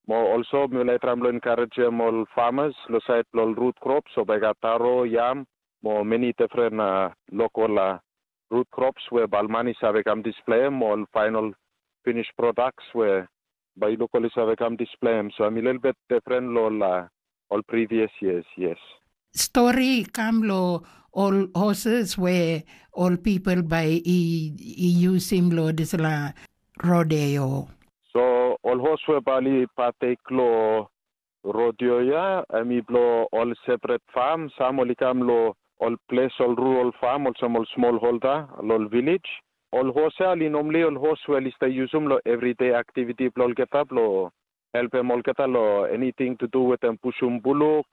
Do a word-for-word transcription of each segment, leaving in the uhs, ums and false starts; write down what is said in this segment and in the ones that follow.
Mo olso mi laik tram lo encouragem ol farmers lo sait lo root crops, so bai gat taro, yam, mo many different uh, local uh, root crops where Balmani save kam display mo ol final finished products where by locally save kam display. So I'm a little bit different lo uh, all previous years, yes. Story kam lo ol horses we ol people bai i, i yusim lo dispela rodeo. So ol hos we bali patek lo rodeo ya, em i blo ol separate farm, sam ol i kam lo ol ples ol rural farm, olsem ol small holder, lo ol village. Ol hos ya, ol i normally ol hos we ol i stay yusum lo everyday activity blo olgeta blo helpem olgeta lo anything to do with em pushum buluk,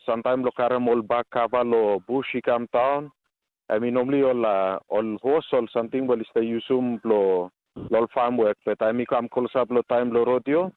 sometimes lo karim ol bak kava lo bush i kam taun. Em i normally ol uh, ol hos ol samting ol i stay yusum blo lo ol farm work, but em i kam close up lo time lo rodeo.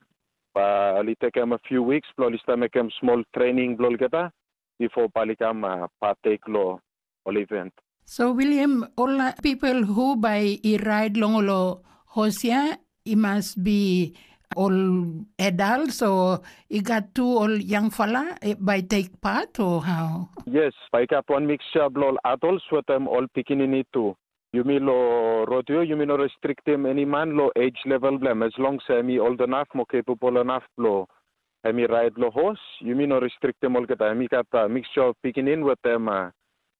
Ba ol i tekem a few weeks blo ol i start mekem small training blo olgeta before ol i kam uh, partake lo ol event. So William, ol uh, people who by i ride long ol hosia, i must be ol adults o i gat tu ol young fala eh, by take part or how? Yes, by gat one mixture blo ol adults with them all pikinini too. Yumi lo rodeo, yumi no restrictim any man lo age level blem, as long as em i old enough mo capable enough blo em i ride lo horse, yumi no restrictim olgeta. Em i gat uh, mixture of pikinin with them uh,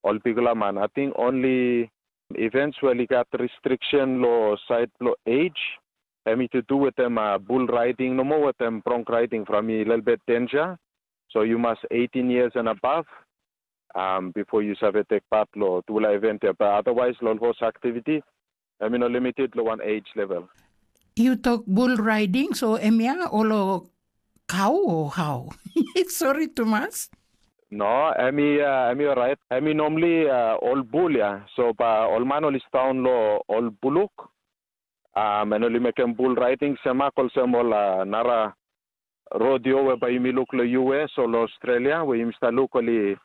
all bigla man. I think only events where i gat restriction lo side lo age, em i to do with them uh, bull riding no more with them bronc riding from a little bit danger. So you must eighteen years and above um, before you save take part lo tula event ya. But otherwise, lo horse activity, I mean, limited lo one age level. You talk bull riding, so em ya olo cow or how? Sorry, Thomas. No, em i uh, em i alright. Em i normally uh, ol bul ya. So ba ol man ol i staun lo ol buluk. Um, en ol i mekem bull riding semak olsem ol uh, nara rodeo we bai yumi luk lo U S o lo Australia we yumi stap luk ol i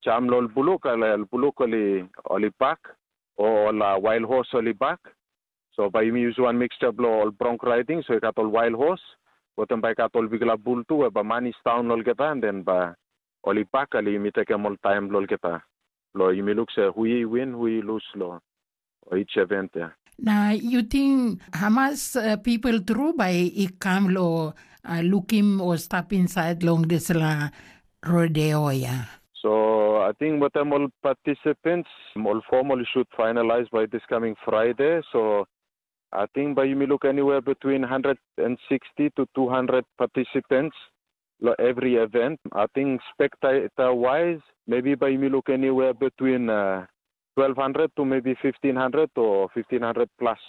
jam lo ol buluk, ol buluk ol i ol i bak o ol uh, wild horse ol i bak. So bai yumi use one mixture blo ol bronc riding, so i gat ol wild horse, wetem bai i gat ol bikla bul tu, we bai man i staun olgeta, and then bai ol i bak, ali yumi tekem ol taim blo olgeta. Blo yumi luk se hui i win, hui i lus lo each event ya. Na yu ting hamas uh, people tru bai i kam lo uh, lukim o stap insait long dispela rodeo ya? So I think with them all participants, all formal should finalize by this coming Friday. So I think by you may look anywhere between one hundred sixty to two hundred participants lo every event. I think spectator wise, maybe by you may look anywhere between uh, twelve hundred to maybe fifteen hundred or fifteen hundred plus.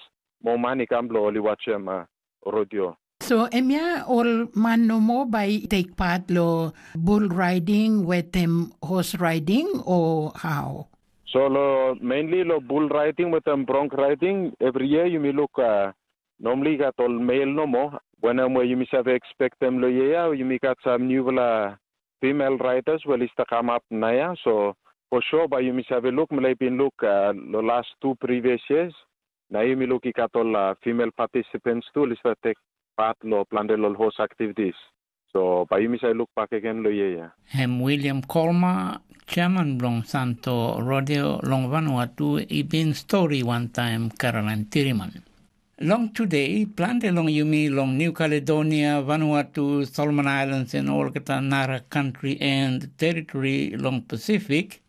More money come lo oli watch them uh, rodeo. So em ya ol man nomo bai take part lo bull riding wetem horse riding o how? So lo mainly lo bull riding wetem bronc riding, every year you may look uh, normally got all male nomo. When I'm where you may have expect them lo yeah, you may got some new uh, female riders well is to come up now. So for sure by you may have a look, maybe look uh, the last two previous years. Na yumi luki gat ol uh, female participants tu ol i start take part lo planti ol horse activities. So bai yumi sai look back again lo year. Hem William Colmer, chairman bilong Santo Rodeo long Vanuatu, i bin stori wantaim Caroline Tiriman. Long today, planti long yumi long New Caledonia, Vanuatu, Solomon Islands, en olgeta nara country and territory long Pacific,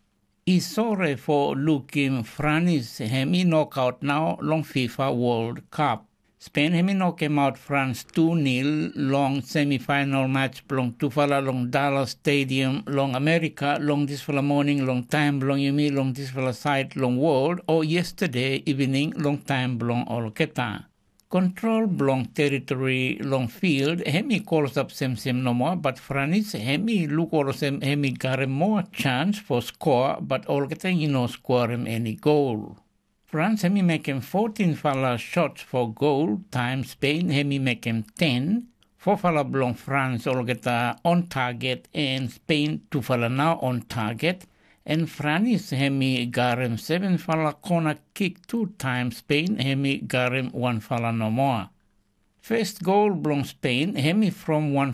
i sore fo lukim Franis hem i nokaut nau long FIFA World Cup. Spen hem i nokemaut Frans tu nil long semifinal match bilong tufala long Dallas Stadium long Amerika long dispela moning long taim bilong yumi long dispela sait long wol o yestade evening long taim bilong olgeta. Kontrol bilong teritori long field em i kolsap semsem nomo, bat Franis em i luk olsem em i garim moa chans fo skoa, bat olgeta i no skoarim eni gol. Frans em i mekim fotin fala shots fo gol, taim Spen em i mekim ten, fofala bilong Frans olgeta on target, en Spen tufala na on target, en Franis em i garim sevenfala kona kik tu taim Spen em i garim wanfala nomo. Fes gol bilong Spen em i from wan